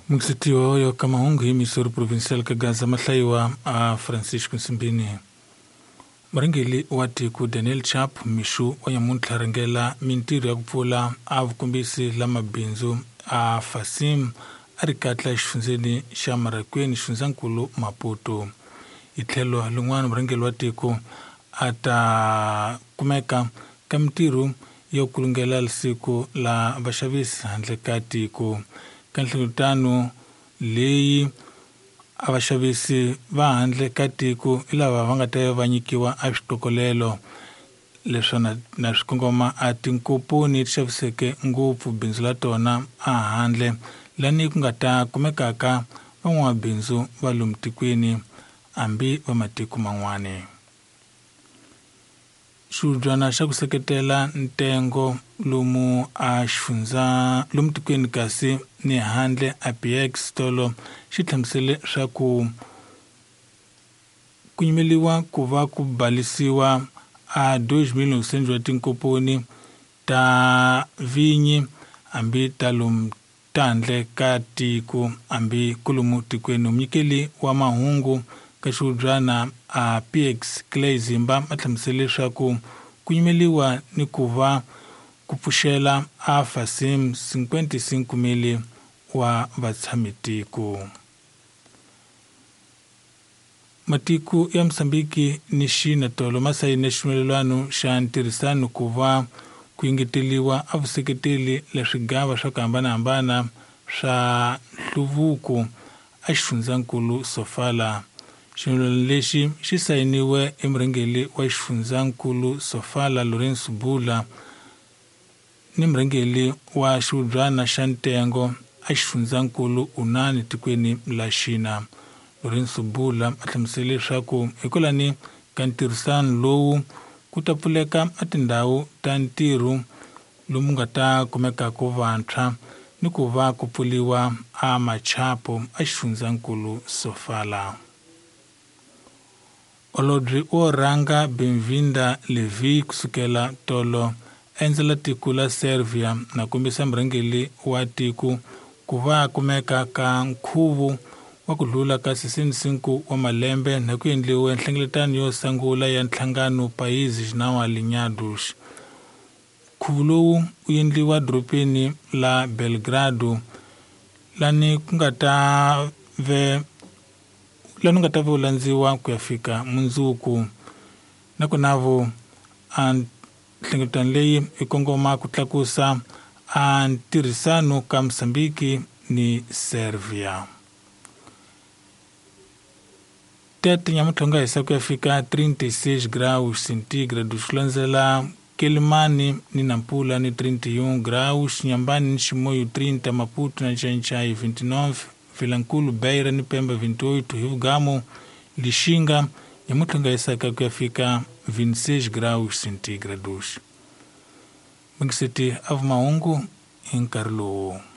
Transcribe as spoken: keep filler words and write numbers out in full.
Mukisitiwa yo ka mahungu hi Missouri Provincial ka Gaza mahlayiwa a Francisco Nsimbini. Murhangeri wa tiko Daniel Chapo mixo wa nyamuntlha rhangela mintirho ya ku pfula a vukombisi la mabindzu a Fasim a ri katla exifundzeni xa Marakweni xifundzankulu Maputo. Hi tlhelo lin'wana murhangeri wa tiko a ta kumeka ka mintirho yo kulungela siku la vaxavisi handle ka tiko. Ka nhlengeletano leyi a vaxavisi va handle ka tiko hi lava va nga ta va nyikiwa a switokolelo leswi na, na swi kongoma a tinkomponi ti xaviseke ngopfu bindzu la tona a handle lani ku nga ta kumekaka van'wamabindzu va lomu tikweni hambi va matiko man'wani. Xihubyana xa ku seketela ntengo lomu a xifundza lomu tikweni kasi ni handle a P X tolo xi hlamusele swa ku ku nyimeliwa ku va ku balisiwa a dois mil novecentos wa tinkomponi ta vinyi hambi ta lomu handle ka tiko hambi kolomu tikweni. Munyikeli wa mahungu ka xihubyana a P X Clay Zimba a hlamusele leswaku ku nyimeliwa ni ku va ku pfuxela a Fasim cinquenta e cinco mil wa vatshamitiko. Matiko ya Mozambiki ni China tolo ma sayine xivumelwano xa ntirhisano ku va ku engeteriwa a vuseketeli la swigava swa ku hambanahambana swa nhluvuko a xifundzankulu Sofala. Xivumelwano lexi xi sayiniwe emurhangeri wa xifundzankulu Sofala Lourenço Bula ni murhangeri wa xihubyana xa ntengo a xifundzankulu Unani tikweni la China. Lourenço Bula a hlamusele leswaku hikwalani ka ntirhisano lowu ku ta pfuleka a tindhawu ta ntirho lomu nga ta kumekaka vantshwa ni ku va ku pfuriwa a machapo a xifundzankulu Sofala. Holobye wo rhanga Benvinda Levi kusukela tolo endzela tiko la Serbia na kombisa murhangeri wa tiko ku va kumeka ka nkhuvo wa ku dlula ka sessenta e cinco wa malembe na ku endliwe nhlengeletano yo sungula ya nhlangano Países Não Alinhados. Nkhuvo lowu wu endliwa dorobeni la Belgrado lani ku nga ta ve lani nga ta ve landziwa ku ya fika mundzuku. Nakona vo a nhlengeletano leyi yi kongoma ku tlakusa a ntirhisano ka Mozambiki ni Serbia. Tete nyamuntlha nga hisa ku ya fika trinta e seis graus centígrados, ku landzela Quelimane ni Nampula ni trinta e um graus, Inhambane ni Chimoio trinta, Maputo na Xanxai vinte e nove, Vilankulo, Beira ni Pemba vinte e oito, Rio Gamo, Lixinga nyamuntlha nga hisaka ku ya fika vinte e seis graus centígrados. Mingiseti a vumahungu hi nkarhi lowu.